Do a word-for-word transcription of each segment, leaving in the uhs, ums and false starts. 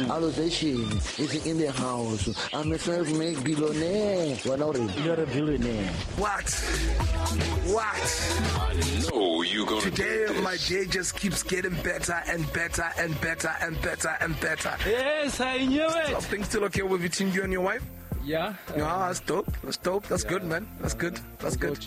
Allocation is in the house. I'm a self-made billionaire. You're a billionaire. What? What? I know you're gonna Today, do this. My day just keeps getting better and better and better and better and better. Yes, I knew it. Are things still okay with between you and your wife? Yeah. Yeah, that's dope. That's dope. That's yeah. good, man. That's good. That's good.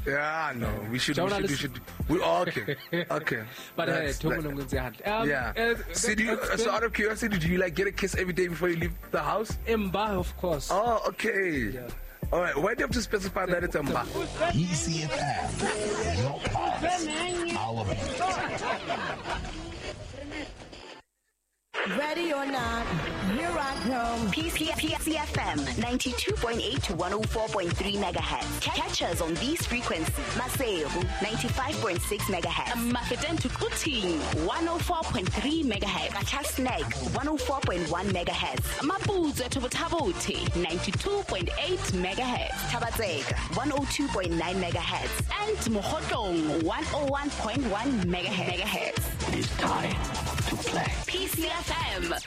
Yeah, no, we should, we should, we should, we all okay, okay. But that's, that, um, yeah. Uh, so, do you, so out of curiosity, do you like get a kiss every day before you leave the house? Mba, of course. Oh, okay. Yeah. All right. Why do you have to specify that it's Mba? E C F M, your pulse, our beat. Ready or not, here I come. P C F M ninety-two point eight to one oh four point three megahertz. Catch us on these frequencies. Maseru ninety-five point six megahertz. Mafeteng to Quthing one oh four point three megahertz. Qacha's one oh four point one megahertz. Maputswe to Botha-Bothe ninety-two point eight megahertz. Thaba-Tseka one oh two point nine megahertz. And Mokhotlong one oh one point one megahertz. It is time to play. P C F M.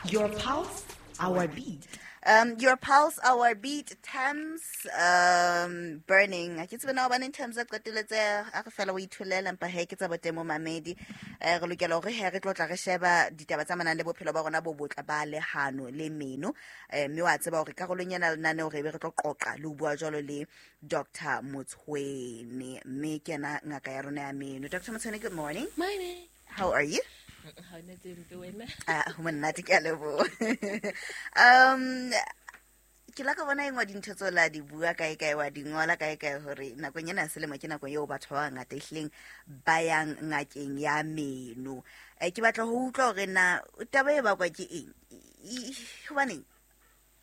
Your pulse, our beat. Um, your pulse, our beat. Thames um, burning. Ke tsebe na hobane Thames a qetelletse a re fela o itholela empa he ke tsa botemo mamedi. Eh, re lokela hore he re tlo tla re sheba ditaba tsa manang le bophelo ba rona bo botle ba lehano le meno. Eh, mme wa tseba hore karolong ena lenaneo re be re tlo qoqa le ho bua jwalo le Doctor Motshwene, mme ke yena ngaka ya rona ya meno. Doctor Motshwene, good morning. Morning. How are you? Ah, ho monate, ke a leboha. Um, ke la ka bona engwe dintho tseo la di bua kae kae wa di ngola kae kae hore nakong ena ya selemo ke nako eo batho ba bangata ehlileng ba yang ngakeng ya meno. Eh, ke batla ho utlwa hore na taba e bakwa ke eng? Hobaneng?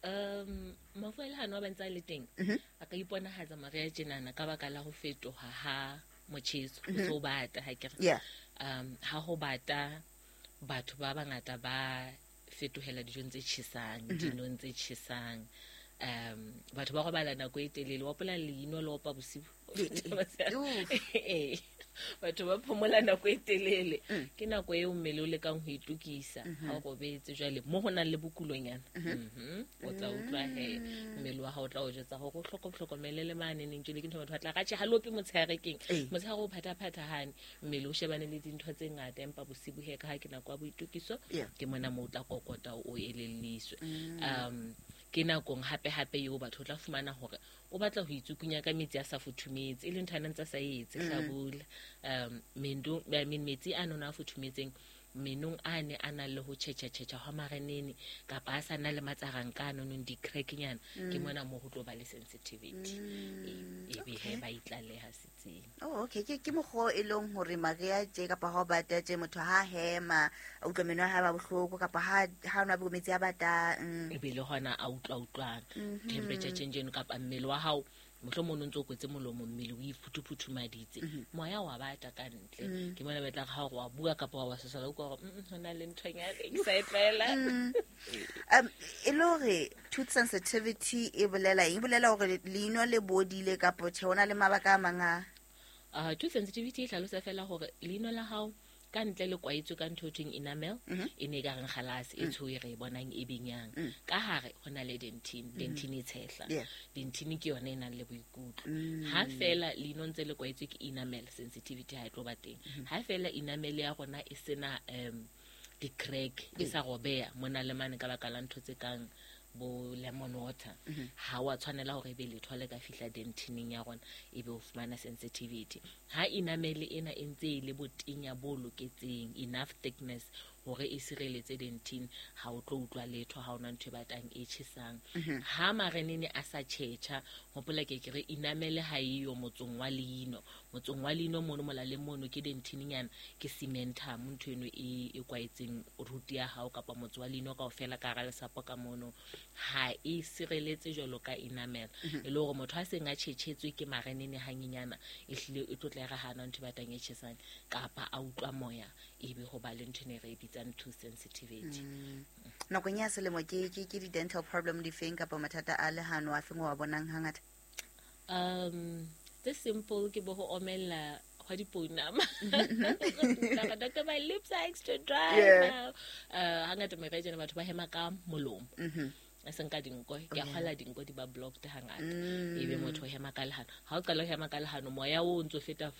Um, mafu a lehano a ba ntse a le teng, a ka iponahatsa mariha tjenana ka baka la ho fetoha ha motjheso, ho so bata ha ke re. Yeah. Um, ha ho bata batho ba bangata ba fetohela dijong tse tjhesang, dinong tse tjhesang. Um, batho ba robala nako e telele, wa hopola leino le opa bosiu. Eh, batho ba phomola nako e telele. Ke nako eo mmele o lekang ho itokisa ha o robetse jwale mo ho nang le bokulonyana. Mhm. O tla utlwa he mmele wa hao o tla o jwetsa hore o hloko hlokomele le mane neng jwale ke ntho batho ba tla ratjhe ha lope motshehare keng. Motshehare o phathaphathahane, mmele o shebane le dintho tse ngata empa bosibu he ka ha ke nako ya boitokiso ke mona mo o tla kokota o elelliswe. Um ke nakong hape hape eo batho tla fumana hore o batla ho itsukunya ka metsi a sa futhumetse e leng ntho a ntse sa etse hlabula. Um mendo I mean metsi a nona a futhumetseng menong a ne a nang le ho tjhetjha-tjhetjha hwa marenene kapa a sa na le matsaranka a nonong di-cracknyana, ke mona mo ho tlo ba le sensitivity e be he ba itlaleha setsing. Oh, okay. Ke ke mokgwa e leng hore mariha tje kapa ha o bata tje motho ha hema a utlwa meno a hae ba bohloko kapa ha ha nwa metsi a batang e be le hona a utlwa utlwang temperature change eno kapa mmele wa hao mohlomong o ntso kwetse molomo mmele o iphuthuphuthumaditse moya wa bata ka ntle ke mona betla ha wa bua kapa wa sesala o gore hona le nthonyana e ke sa e tlwaela. Um e le hore tooth sensitivity e bolela eng? E bolela hore leino le bodile kapa tjhe hona le mabaka a mang a uh tooth sensitivity e hlalosa fela hore leino la hao ka ntle le kwaetswe ka ntho e thweng enamel e ne ka reng galase e tsho e re bonang e benyang ka hare ho na le dentine dentine e tshehla dentine ke yona e nang le boikutlo ha fela leino ntse le kwaetswe ke enamel sensitivity ha e tlo ba teng ha fela enamel ya rona e sena um di-crack e sa robeha mona le mane ka baka la ntho tse kang bo lemon water ha wa tshwanela hore ebe letho le ka fihla dentineng ya rona ebe o fumana sensitivity ha enamel ena e ntse e le botenya bo loketseng enough thickness hore e sireletse dentine ha o tlo utlwa letho ha ona ntho e batang e tjhesang ha marenene a sa tjhetjha hopola ke ke re enamel ha e yo motsong wa leino motsong wa leino mono molaleng mono ke dentine nyana ke cementum ntho eno e e kwaetseng root ya hao kapa motso wa leino kaofela ka hara lesapo ka mono ha e sireletse jwalo ka enamel e le hore motho a seng a tjhetjhetswe ke marenene hanyenyana e hlile e tlotla re hana ntho e batang e tjhesang kapa a utlwa moya ebe ho ba le ntho e re bitsang tooth sensitivity. Nakong ya selemo ke ke ke di-dental problem di feng kapa mathata a lehano a feng wa bonang hangata? Um tse simple ke bo ho omella kgwa dipounama. Doctor, my lips are extra dry Yeah. now. Uh, hangata mariha tjena batho ba hema ka molomo. A seng ka dinko, ke a kgwala dinko di ba blocked hangata. Ebe motho o hema ka lehano. Ha o qala ho hema ka lehano, moya o ntso feta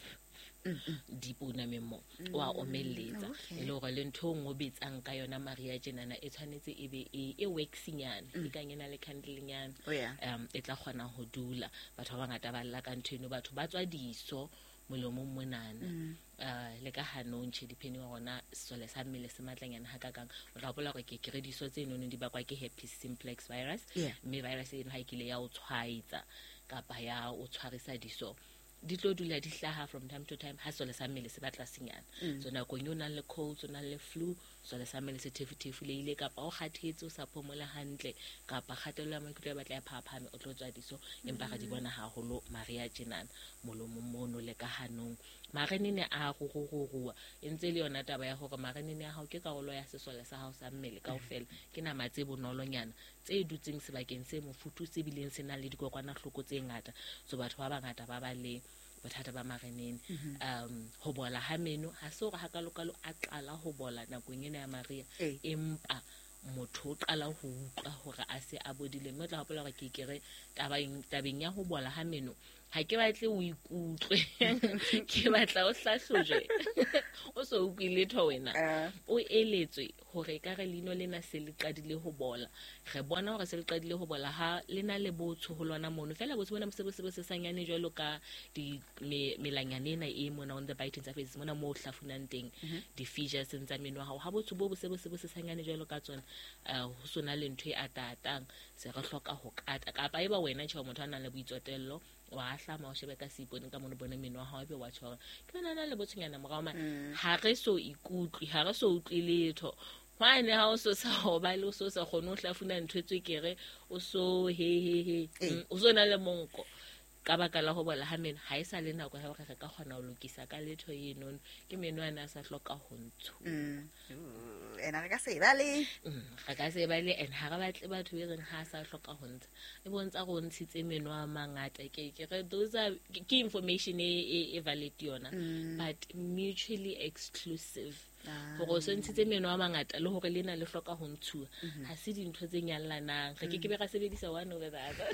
dipounameng mo, wa omelletsa. Okay. E le hore le ntho e nngwe o betsang ka yona mariha tjenana e tshwanetse e be e e waxy-nyana, e kang e na le candle-nyana. Oh, yeah. Um, e tla kgona ho dula. Batho ba bangata ba lla ka ntho eno, batho ba tswa diso molomong monana. Uh, le ka hanong tjhe, depending hore na sesole sa mmele se matlanyana hakakang. O tla hopola hore ke kere diso tse nono di bakwa ke herpes simplex virus. Yeah. Mme virus eno ha e kile ya o tshwaetsa kapa ya o tshwarisa diso, di tlo dula di hlaha from time to time ha sesole sa mmele se batla senyana. So nakong eo o nang le colds, o nang le flu, sesole sa mmele se thefuthefulehile, kapa o kgathetse, o sa phomola hantle, kapa kgatello ya maikutlo ya batla ya phahaphame, o tlo tswa diso. Empa re di bona haholo mariha tjenana molomong mono le ka hanong. Marenene a rurururuwa, e ntse le yona taba ya hore marenene a hao ke karolo ya sesole sa hao sa mmele kaofela. Ke nama tse bonolonyana tse dutseng sebakeng se mofuthu, se bileng se nang le dikokwanahloko tse ngata. So batho ba bangata ba ba le bothata ba marenene. Um, ho bola ha meno ha se hore hakalokalo a qala ho bola nakong ena ya mariha, Ee. empa motho o qala ho utlwa hore a se a bodile. Mme o tla hopola hore ke kere tabeng, tabeng ya ho bola ha meno, ha ke batle o ikutlwe, ke batla o hlahlojwe. O so utlwe letho wena. Eh. O eletswe hore ekare leino lena se le qadile ho bola. Re bona hore se le qadile ho bola ha le na le botsho ho lona mono. Feela botsho bona bo se bo se bo sesanyane jwalo ka di me, melanyane ena e mona on the biting surface, mona moo o hlafunang teng, di-fissures tsa meno wa hao. Ha botsho bo bo se bo se bo sesanyane jwalo ka tsona, uh, ho sona le ntho e atatang, se re hloka ho kata. Kapa eba wena tjhe motho a nang le boitsotello, wa hlama o shebe ka seipone ka mono, bone meno wa hao, ebe wa tjho hore ke yona na le botshonyana morao mane. Ha re so ikutlwe, ha re so utlwe letho. Hwane ha o so sa robale, o so sa kgone ho hlafuna ntho e tswekere, o so he he he, Ee. Mm, o so na le monko. Ka baka la ho bola ha meno, ha e sa le nako ya hore re ka kgona ho lokisa ka letho enono. Ke meno ana a sa hloka ho ntshuwa. Mm. Ena re ka se bale. Mm, re ka se bale, and ha re batle batho e reng ha a sa hloka ho ntsha. E bontsha hore o ntshitse meno a mangata. Ke, ke re those are, ke, ke information e, e, e valid yona, but mutually exclusive. Hore o so ntshitse meno a mangata le hore lena le hloka ho ntshuwa, ha se dintho tse nyallanang. Re ke ke be ra sebedisa one over the other.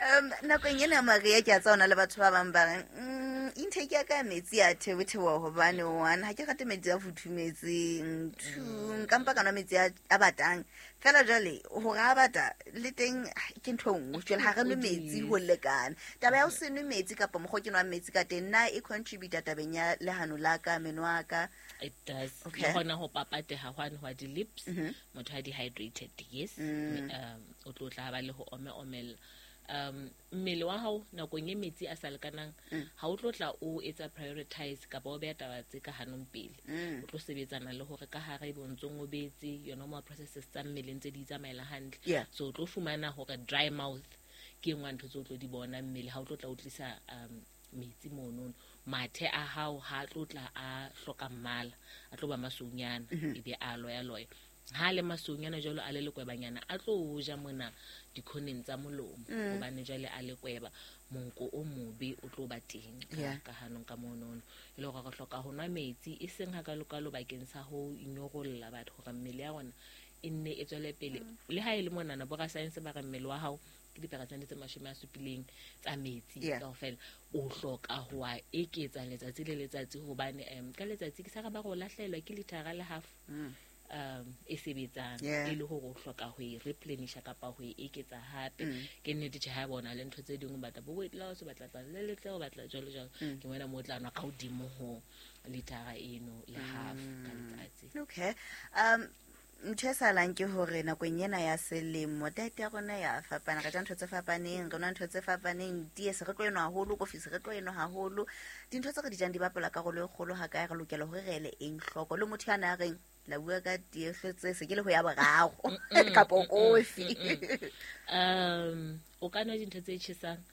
Um, nakong ena mariha ke a tseba ho na le batho ba bang ba reng, mm, intake ya ka ya metsi ya theotheoha hobane one, ha ke rate metsi a futhumetseng, two, nka mpa ka nwa metsi a, a batang. Feela jwale, hore a bata le teng ke ntho e nngwe. Jwale ha re nwe metsi ho lekana. Taba ya ho se nwe metsi kapa mokgwa o ke nwang metsi ka teng, na e contribute tabeng ya lehano la ka, meno a ka? It does. Okay. Le hona ho papateha hwane hwa di-lips, motho a dehydrated, yes. Um, o tlo tla ba le ho ome omella. Um, mmele wa hao nakong e metsi a sa lekanang, ha o tlo tla o etsa prioritize kapa o beha taba tse ka hanong pele. O tlo sebetsana le hore ka hare ebe o ntso o betse yona mo processes tsa mmele ntse di tsamaela hantle. Yeah. So o tlo fumana hore dry mouth ke e nngwe ya ntho tse o tlo di bona mmele ha o tlo tla o tlisa, um, metsi monono. Mathe a hao ha a tlo tla a hloka mmala, a tlo ba masweunyana, ebe a loya-loya. Ha le masweunyana jwalo a le lekwebanyana, a tlo o ja mona dikhoneng tsa molomo, hobane jwale a lekweba, monko o mobe o tlo ba teng ka, Yeah. ka hanong ka monono. E le hore re hloka ho nwa metsi, e seng hakalokalo bakeng sa ho inyorolla batho, hore mmele ya rona e nne e tswele pele. Le ha e le monana, borasaense ba re mmele wa hao ke diperesente tse mashome a supileng tsa metsi Yeah. kaofela. O hloka ho a eketsa letsatsi le letsatsi, hobane, um, ka letsatsi ke sa re ba re o lahlehelwa ke lithara le half, um, e sebetsang. Yeah. E le hore o hloka ho e replenisha kapa ho e eketsa hape. Ke nnete tjhe, ha bona le ntho tse ding, o batla bo weight loss, o batla tla le letle, o batla jwalo jwalo. Ke mona moo o tla nwa ka hodimo ho lithara eno le half ka letsatsi. Okay. Um, ntho e salang ke hore nakong ena ya selemo diet ya rona ya fapana, re ja ntho tse fapaneng, re nwa ntho tse fapaneng, tee se re tlo enwa haholo, kofi se re tlo enwa haholo. Dintho tse re di jang di bapala karolo e kgolo ha kae, re lokela hore re ele eng hloko. Le motho ya na reng la bua ka tee hlotse se ke le ho ya boraro kapa kofi. Um, o ka nwa dintho tse tjhesang,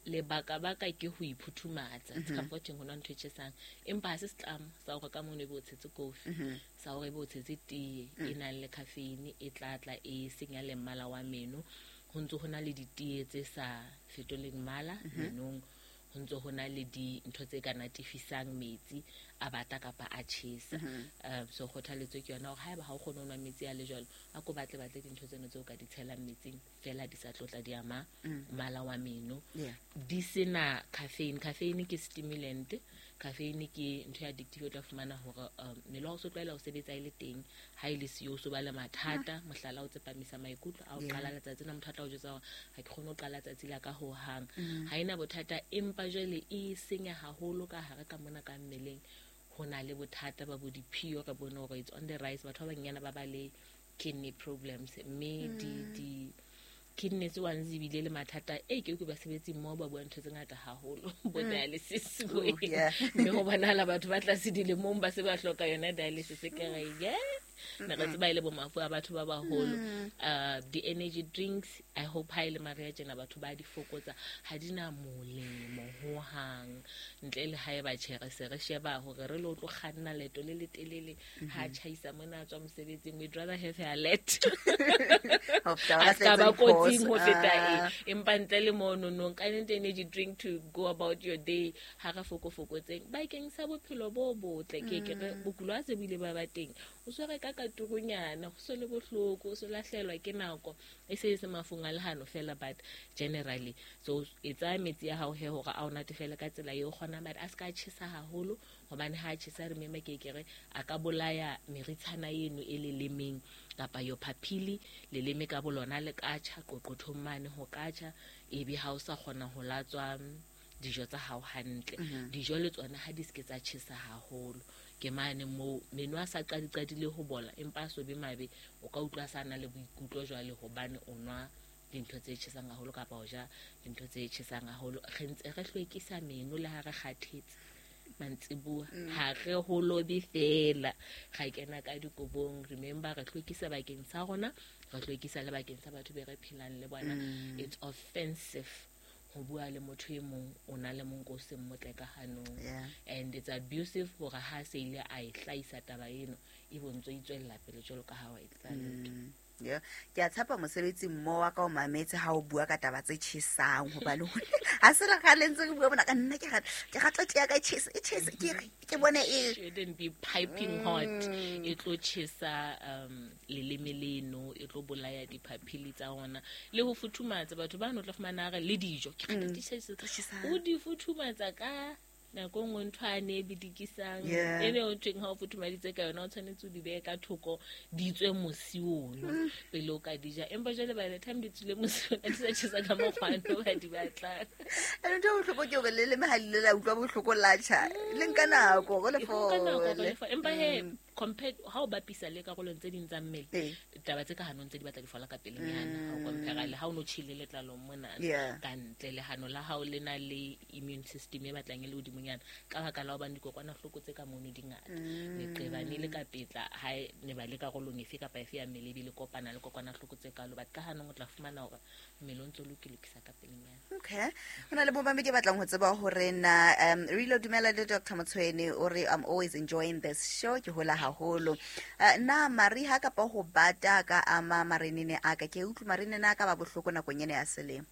lebaka baka ke ho iphuthumatsa. It's comforting ho nwa ntho e tjhesang, empa ha se setlamo sa hore ka mono ebe o tshetse kofi, sa hore ebe o tshetse tee e nang le caffeine e tla tla e senya le mmala wa meno. Ho ntso ho na le ditee tse sa fetoleng mmala menong, ho ntso ho na le dintho tse ka natifisang metsi a bata kapa a tjhesa. Um so kgothaletso ke yona hore haeba ha o kgone ho nwa metsi a le jwalo, a ko batle batle dintho tseno tseo ka di tshelang metsing fela di sa tlotla di ama mmala wa meno. Di sena caffeine. Caffeine ke stimulant. Caffeine ke ntho ya addictive, o tla fumana hore mmele wa o so tlwaela ho sebetsa e le teng, ha e le siyo o so ba le mathata. Mohlala o tsepamisa maikutlo a o qala letsatsi na motho a tla o jwetsa hore ha ke kgone ho qala tsatsi la ka ho hang. Ha ena bothata, empa jwale e senya haholo ka hare ka mona ka mmeleng. Ho na le bothata ba bo diphio, re bone hore it's on the rise, batho ba banyana ba ba le kidney problems, mme di di kidneys ones ebile le mathata e ke ke basebetsi mmoho ba bua ntho tse ngata haholo bo dialysis bo mme ho bonahala batho ba tlase dilemong ba se ba hloka yona dialysis. Ke re ye ne re tseba ile bo mafu a batho ba baholo. Uh di energy drinks, I hope ha ile maria tjena batho ba di fokotsa, ha di na molemo ho hang ntle le ha e ba tjhere se re sheba hore re lo tlo kganna leeto le letelele ha tjhaisa mona tswa mosebetsing. We'd rather have a let a kotsing ho feta e empa ntle le mono no ka energy drink to go about your day. Ha re fokofokotseng bakeng sa bophelo bo botle. Ke ke re bokulo a se bile ba ba teng, o swere ka katurunyana, ho so le bohloko, o so lahlelwa ke nako e se se mafung a lehano fela, but generally so etsa metsi ya hao he hore a o natefele ka tsela eo kgona, but a ska tjhesa haholo hobane ha tjhesa re mema ke ke re a ka bolaya meritshana eno e lelemeng kapa yo papili leleme ka bolona le ka tjha qoqothong mane ho ka tjha, ebe ha o sa kgona ho latswa dijo tsa hao hantle. Dijo le tsona ha di ske tsa tjhesa haholo, ke mane moo meno a sa qadiqadile ho bola empa a so be mabe, o ka utlwa sa na le boikutlo jwale hobane o nwa dintho tse tjhesang haholo kapa o ja dintho tse tjhesang haholo. Re ntse re hlwekisa meno le ha re kgathetse mantsibuya, ha re ho lobe fela ga kena ka dikobong. Remember re hlwekisa bakeng sa rona, re hlwekisa le bakeng sa batho be re phelang le bona. It's offensive ho bua le motho e mong o na le monko o seng motle ka hanong, and it's abusive hore ha se ile a e hlahisa taba eno e bontso itswella pele jwalo ka ha wa etsa letho. Yeah, ke a tshepa mosebetsi mmo wa ka o mametse ha o bua ka taba tse tjhesang hobane ha se re kgale ntse re bua bona ka nna ke rata ke rata tea ka tjhesa e tjhesa ke ke bone e shouldn't be piping hot, e tlo tjhesa um leleme leno, e tlo bolaya diphaphili tsa ona le ho futhumatsa batho ba no tla fumana re le dijo ke rata di tjhesa o di futhumatsa ka nako nngwe ntho a ne e bidikisang e ne o thweng ha o futhumaditse ka yona o tshwanetse o di behe ka thoko di tswe mosi ono pele o ka di ja, empa jwale by the time di tswile mosi ona di sa tjhesa ka mokgwa ono ba di batlang. Ene ntho e bohloko ke hore leleme ha le la utlwa bohloko la tjha le nka nako go le fole, empa he compared ha o bapisa le karolong tse ding tsa mmele taba tse ka hanong tse di batla di fola ka pelenyana ha o compare le ha o no tjhile letlalong mona ka ntle le hano la hao le na le immune system e batlang e le hodimonyana ka baka la hobane dikokwanahloko tse ka mono di ngata leqebane le ka petla ha ne ba le karolong efe kapa efe ya mmele ebile kopana le kokwanahloko tse kalo, but ka hanong o tla fumana hore mmele o ntso lokilokisa ka pelenyana. Okay, hona le bomamedi ba batlang ho tseba hore na um re lo dumela le Doctor Motshweni o re I'm always enjoying this show, ke hola haholo. Uh, na mariha kapa ho bata ka ama marenene a ka ke utlwe marenene a ka ba bohloko nakong ena ya selemo.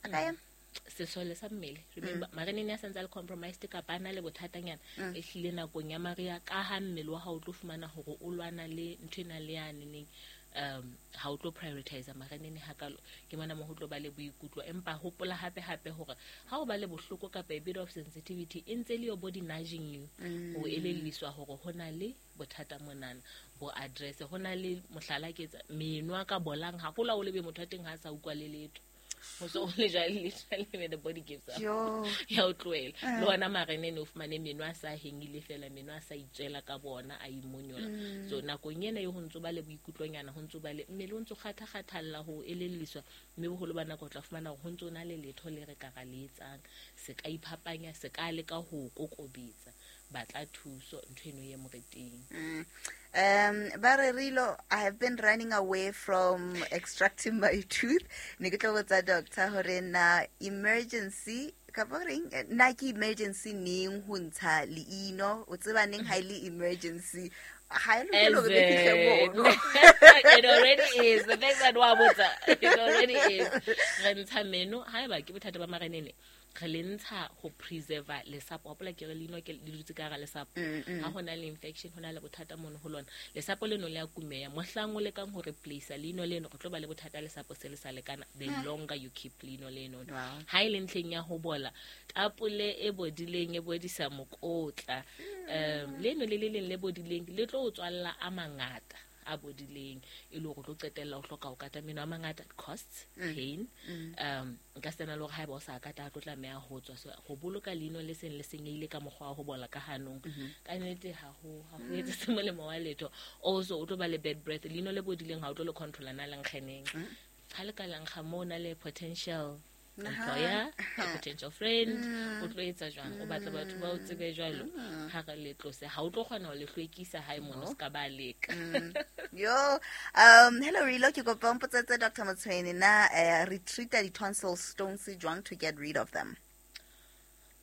A ka ema sesole sa mmele remember marenene a santse a le compromised kapa a na le bothatanyana e hlile nakong ya mariha ka ha mmele wa hao o tlo fumana hore o lwana le ntho ena le yane neng um ha o tlo prioritize marenene hakalo ke mona mo ho tlo ba le boikutlo. Empa hopola hape hape hore ha o ba le bohloko kapa a bit of sensitivity e ntse le your body nudging you ho elelliswa hore hona le bothata monana bo address. Hona le mohlala ke etsa meno a ka bolang haholo o lebe motho a teng ha sa utlwa le letho ho so le jwale literally the body gives up ya o tlohela le ona marenene o fumane meno a sa hengile fela meno a sa itswela ka bona a imonyola. So nakong ena e ho ntso ba le boikutlonyana ho ntso ba le mmele o ntso kgatha-kgathalla ho elelliswa mme boholo ba nako o tla fumana hore ho ntso na le letho le re ka ra le etsang se ka iphapanya se ka leka ho kokobetsa batla thuso ntho eno ye moreteng. Um Barerilo, I have been running away from extracting my tooth. Ne ke tlo botsa doctor hore na emergency kapa reng na ke emergency neng ho ntsha leino o tseba neng ha ile emergency ha e lokela hore be fihle mono. It already is. The fact that wa botsa, it already is. Re ntsha meno haeba ke bothata ba marenene Re le ntsha ho preserve lesapo. Hopola ke re leino ke le dutse ka hara lesapo. Ha hona le infection, hona le bothata mono ho lona. Lesapo leno le a kumeya. Mohlang o lekang ho replace leino leno, re tlo ba le bothata lesapo se le sa lekana. The longer you keep leino leno. Ha e le ntlheng ya ho bola, tapole e bodileng e bodisa mokotla. Um leno le le leng le bodileng le tlo o tswalla a mangata a bodileng e le hore o tlo qetella o hloka ho kata meno a mangata, costs pain. Um nka sena le hore haeba o sa kata a tlo tlameha ho tswa. So ho boloka leino le seng le senyehile ka mokgwa wa ho bola ka hanong, ka nnete ha ho ha ho etse se molemo wa letho. Also o tlo ba le bad breath. Leino le bodileng ha o tlo le controla na le nkgeneng. Ha le ka la nkga mo na le potential employer, a potential friend, o tlo etsa jwang? O batla batho ba o tsebe jwalo. Ha re le tlose, ha o tlo kgona ho le hlwekisa hae mono se ka ba leka. Yo, um hello Rilo, ke kopa o mpotsetse Doctor Motshweni na eh, re treat-a di-tonsil stones jwang to get rid of them?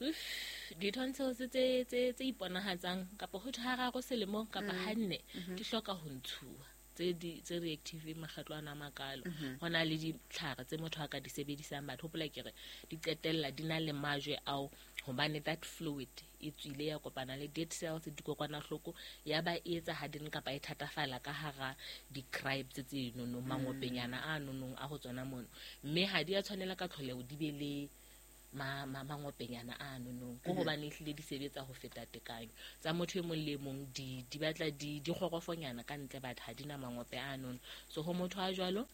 Uff, di-tonsils tse tse tse iponahatsang kapa ho hararo selemong kapa hanne di hloka ho ntshuwa. Tse di tse reactive makgetlo ana a makalo. Ho na le ditlhare tse motho a ka di sebedisang. Batho hopola ke re di qetella di na le majwe ao, hobane that fluid e tswile ya kopana le dead cells, dikokwanahloko, ya ba e etsa harden kapa e thatafala ka hara di-cribes tse nonong, mangopenyana a nonong a ho tsona mono. Mme ha di a tshwanela ka tlholeho di be le ma ma mangopenyana a nonong, ko hobane ehlile di sebetsa ho feta tekanyo. Tsa motho e mong le mong di di batla di di kgorofonyana ka ntle, batho ha di na mangope a nono. So ho motho a jwalo,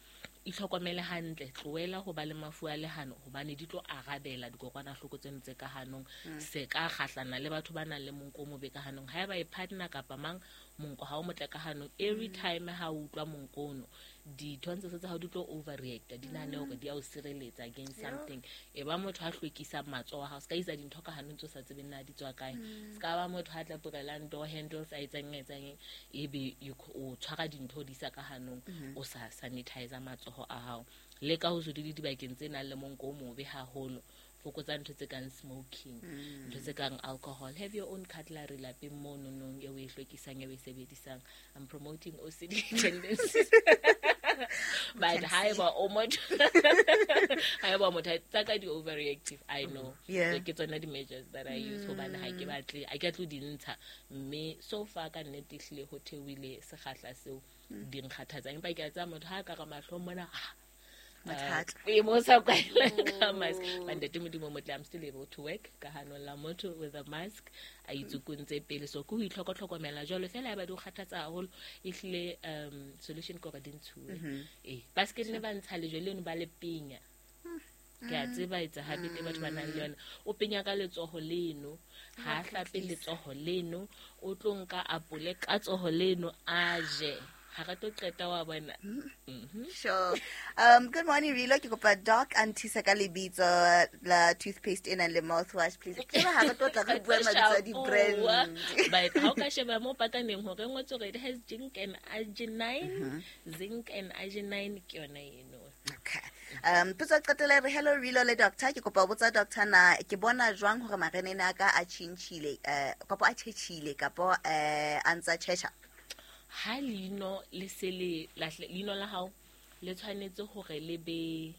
itlhokomele hantle, tlohela ho ba le mafu a lehano, hobane di tlo arabela dikokwanahloko tseno tse ka hanong. Se ka kgahlana le batho ba nang le monko o mobe ka hanong. Haeba e partner kapa mang, monko ha o motle ka hanong, every time ha o utlwa monko ono, di-tonsils tsa hao di tlo overreact, di nahane hore di a o sireletsa against something. E ba motho a hlwekisang matsoho a hao, se ka isa dintho ka hanong tse o sa tsebeng na di tswa kae. Se ka ba motho a tlaporelang door handles, a etsang etsang, ebe o tshwara dintho di isa ka hanong, o sa sanitize matsoho a hao. Leka ho se dule dibakeng tse nang le monko o mobe haholo. Fokotsa ntho tse kang smoking, ntho tse kang alcohol. Have your own cutlery lapeng mo nonong eo o e hlwekisang, eo o e sebedisang. I'm promoting O C D tendencies. But haeba o motho, haeba o motho tsa ka di overreactive, I know. Yeah. Ke tsona di measures that I use hobane ha ke batle, ha ke tlo di ntsha. Mme so far ka nnete ehlile ho theohile sekgahla seo di nkgathatsang. Empa ke a tseba motho ha ka re mahlong mona, Mathata. E mo sa kwaela ka mask. But ntate Modimo motle, I'm still able to work ka hanong la motho with a mask. A itsukuntse pele. So ke ho itlhokotlhokomela jwalo fela ha ba di o kgathatsa haholo, ehlile um solution ke hore di ntshuwe. Eh, ba se ke nne ba ntsha lejwe leno ba le penya. Ke a tseba etsa habit e batho ba nang le yona. O penya ka letsoho leno, ha hlape letsoho leno, o tlo nka apole ka tsoho leno a je. Ha re tlo qeta wa bona. Mhm. Sure. Um, good morning, Rilo. Ke kopa doc a nthuse ka lebitso la toothpaste e nang le mouthwash, please. Ke ba ha re tlo tla re bua mabitso a di-brand. But ha o ka sheba mo pakaneng hore ngotswe hore it has zinc and arginine, zinc and arginine ke yona eno. Okay. Um, potso ya qetela re hello Rilo le doctor. Ke kopa ho botsa doctor na ke bona jwang hore marenene a ka a tjhentjhile, eh, kapo a tjhetjhile, kapo, eh, a ntsa tjhetjha? Ha leino le se le lahle, leino la hao le tshwanetse hore le be,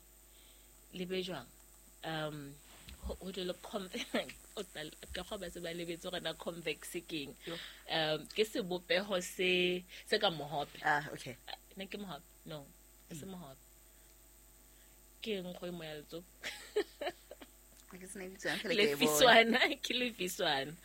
le be jwang? Um, ho, ho thwe le convex, o tla, ka kgwa ba se ba lebetse hore na convex ke eng. Um, ke sebopeho se, se ka mohope. Ah, okay. Ne ke mohope? No, e se mohope. Ke eng go e moya letsopa? Ke se ne bitswang fela ke e bona. Lefiswana, ke lefiswana.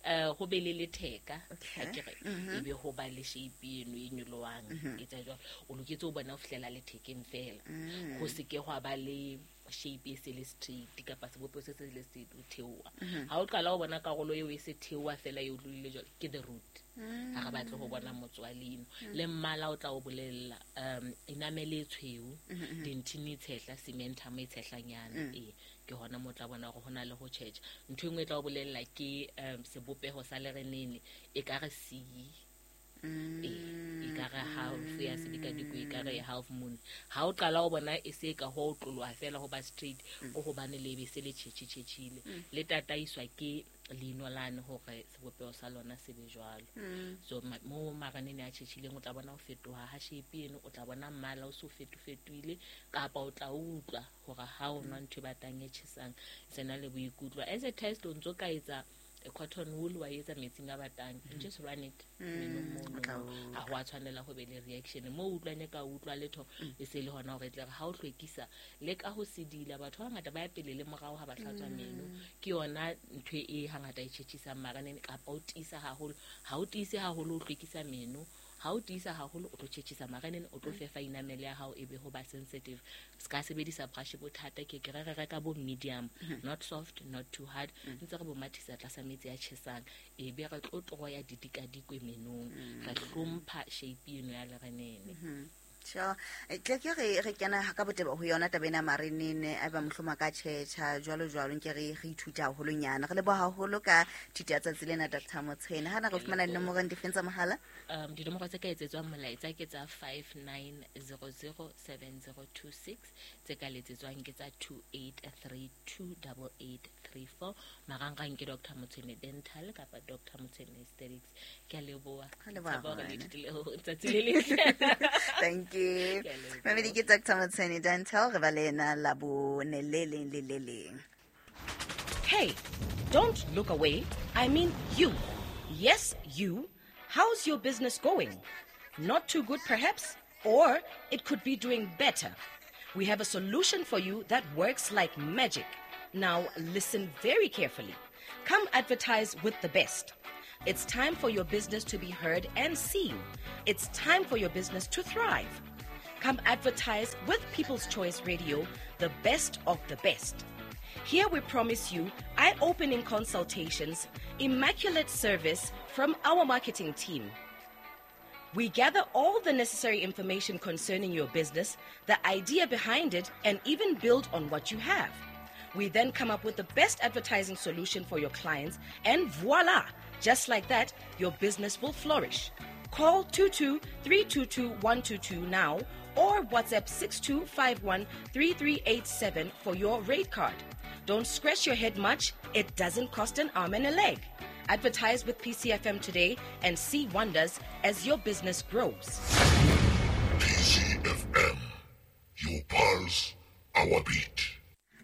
Eh, ho be le letheka, Okay. ha ke re, Mm-hmm. ebe ho ba le shape eno e nyolohang, Mm-hmm. e tsa jwalo. O loketse ho bona ho fihlela lethekeng fela. Mm. Ho se ke hwa ba le shape e se le straight kapa sebopeho se se le straight o theoha. Mm-hmm. Ha o qala ho bona karolo eo e se theoha fela e otlolohile jwalo, ke the root. Mm. Ha re batle ho bona motso wa leino. Le mmala o tla o bolella, um, enamel e tshweu, Mm-hmm. dentine e tshehla, cementum e tshehlanyana. Mm. Ee, ke hona mo tla bona hore ho na le ho tjhetjha. Ntho e nngwe e tla o bolella ke, um, sebopeho sa lerenene, e ka re C. E e ka re half ya sedikadikwe e ka re half moon. Ha o qala o bona e se ka ho tloloha fela ho ba straight o hobane le be se le tjhetjhetjhile le tataiswa ke leino lane hore sebopeho sa lona se be jwalo. So mo maranene a tjhetjhileng o tla bona ho fetoha ha shape eno, o tla bona mmala o so fetofetoile kapa o tla utlwa hore ha o nwa ntho e batang e tjhesang sena le boikutlo. As a test o ntso ka etsa a cotton wool wa etsa metsing a batang, just run it menong mono, ha ho a tshwanela ho be le reaction mo utlwane ka utlwa letho e se le hona hore tle ha o hlwekisa le ka ho sedila. Batho ba ngata ba ya pele le morao ha ba hlatswa meno, ke yona ntho e hangata e tjhetjhisang maranene kapa o tiisa haholo. Ha o tiise haholo o hlwekisa meno, ha o tiisa haholo o tlo tjhetjhisa maranene, o tlo fefa enamel ya hao e be ho ba sensitive. Se ka sebedisa brush bothata ke ke re re reka bo medium, not soft, not too hard, ntse re bo mathisa tlasa metsi a tjhesang e be re tlo tloya didikadikwe menong, re hlompha shape eno ya lerenene. Sure. Tle ke re re kena ka botebo ho yona taba ena marenene a ba mohloma ka tjhetjha jwalo jwalo nke re re ithuta haholonyana. Re leboha haholo ka thuto ya tsatsi lena Doctor Motshene. Ha na re fumana dinomoro difeng tsa mohala? Um dinomoro tse ka etsetswang molaetsa ke tsa five nine zero zero seven zero two six, tse ka letsetswang ke tsa two eight three two eight eight three four. Marangrang ke Doctor Motshene Dental kapa Doctor Motshene Aesthetics. Ke a leboha. Tsatsi le letle. Thank you. Mamedi ke Doctor Motshene Dental, re ba le yena Labone le leng le le leng. Hey, don't look away. I mean you. Yes, you. How's your business going? Not too good perhaps, or it could be doing better. We have a solution for you that works like magic. Now listen very carefully. Come advertise with the best. It's time for your business to be heard and seen. It's time for your business to thrive. Come advertise with People's Choice Radio, the best of the best. Here we promise you eye-opening consultations, immaculate service from our marketing team. We gather all the necessary information concerning your business, the idea behind it, and even build on what you have. We then come up with the best advertising solution for your clients, and voila! Just like that, your business will flourish. Call two two three two two one two two now or WhatsApp six two five one three three eight seven for your rate card. Don't scratch your head much. It doesn't cost an arm and a leg. Advertise with P C F M today and see wonders as your business grows. P C F M, your pulse, our beat.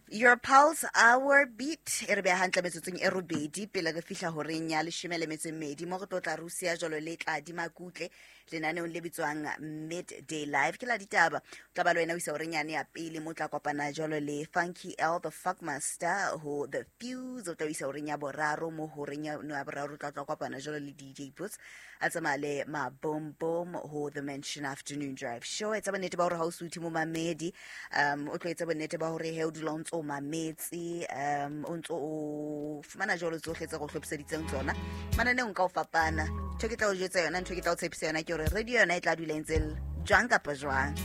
Your pulse, our beat. E re beha hantle metsotsong e robedi pele re fihla horeng ya leshome le metso e mmedi mo re tlo tla Russia jwalo le tla dimakutle lenaneong le bitswang Midday Live. Ke la ditaba o tla ba le wena o isa horeng yane ya pele mo tla kopana jwalo le Funky L the Fuckmaster ho The Fuse. O tla isa horeng ya boraro mo horeng ya no ya boraro tla tla kopana jwalo le D J Boots a tsamaya le ma boom boom ho The Mansion Afternoon Drive Show. Etsa bonnete ba hore ha o suthe mo mamedi, um o tlo etsa bonnete ba hore he o dula o ntso mametse, um o ntso o fumana jwalo tsohle tse go hlophiseditseng tsona mananeong ka o fapana. Ntho ke tla o jwetsa yona, ntho ke tla o tshepisa yona ke hore radio yona e tla dula e ntse jwang kapa jwang.